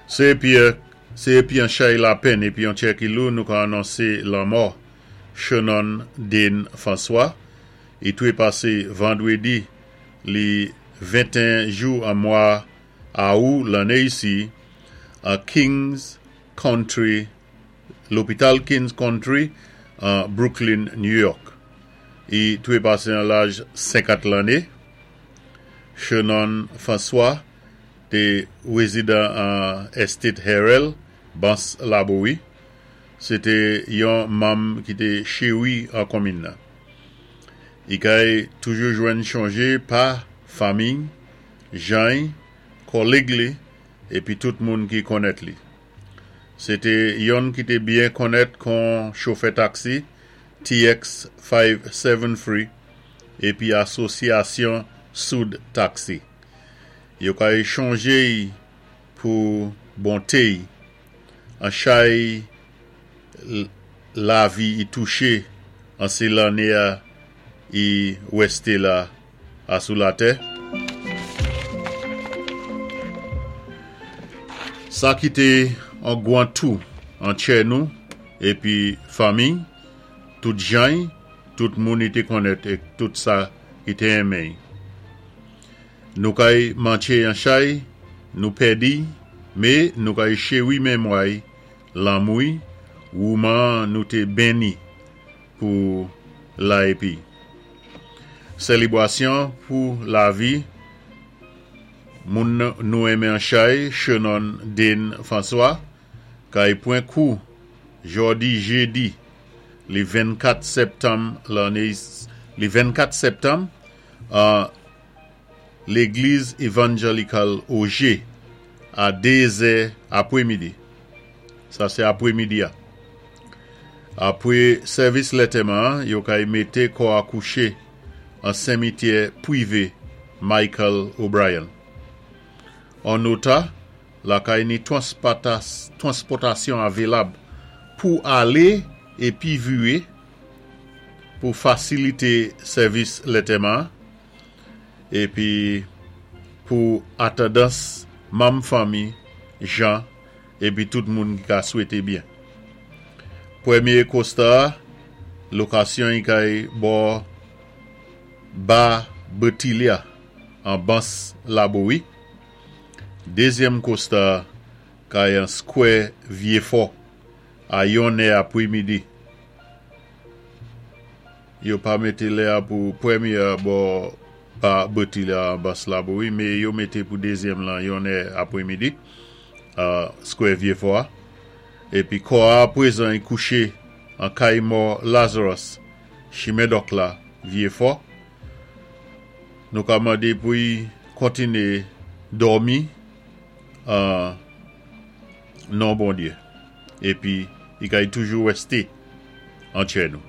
Sé épi sé épi an chay lapenn épi an tchè ki lou nou ka anonsé lanmò Chenon Dane François. I twé pasé vandwédi li 21 jou an mwa Awou lanné isi an Kings County lopital Kings County an Brooklyn, New York. I twé pasé an laj 50 lanné. Chenon François té wézidan an Estate Harrell, Bans Labowi. Sé té yon manm ki té chéwi an konminn nan. I kay toujou jwenn chonjé pa fanmiy, jan-y, kòlèg li épi tout moun ki konnèt li. Sé té yonn ki té byen konnèt kon chofè taksi TX 573 épi Asosyasyon Soud Taksi. Yo kay chonjé-y pou bonté-y an chay lavi i touché an sé lanné a i wèsté la asou latè. Sa kité an gwan tou an tchè nou épi fanmiy, tout jan-y, tout moun i té konnèt ék tout sa ki té enmen-y. Nou kay mantché an chay nou pèdi-y mé nou kay chéwi menmwa-y, lanmou-y, wouman nou té benni pou la épi sélibwasyon pou lavi moun nou enmen an chay Chenon Dane François kay pwan kou jòdi jédi li 24 sèptanm lanné li 24 sèptanm an Légliz Evanjelikal Ogé a 2 zè apwémidi. Sa sé apwémidi a. Apwé sèvis lètèman an, yo kay mété kò a kouché an senmityè pwivé Michael O'Brien. An nota, lakay ni twanspòtasyon avélab pou alé épi viré pou fasilité sèvis lètèman an épi pou atandans manm fanmi jan épi tout moun ki ka swété byen. Pwémyé kosta a, lokasyon-y kay bò Ba Bertilia an Bans Labowi. Dézyèm kosta a kay an Skwè Vyéfò a yon è apwémidi. Yo pa mété lè a pou pwémyé a bò Ba Bertilia an Bans Labowi, mé yo mété pou dézyèm lan yon è apwémidi a Skwè Vyéfò a. Épi kò a apwézan y kouché an kay mò Lazarus, chimen Dòk la, Vyéfò. Nou ka mandé pou y kontiné dòmi an non Bondyé, épi y kay toujou wèsté an tchè nou.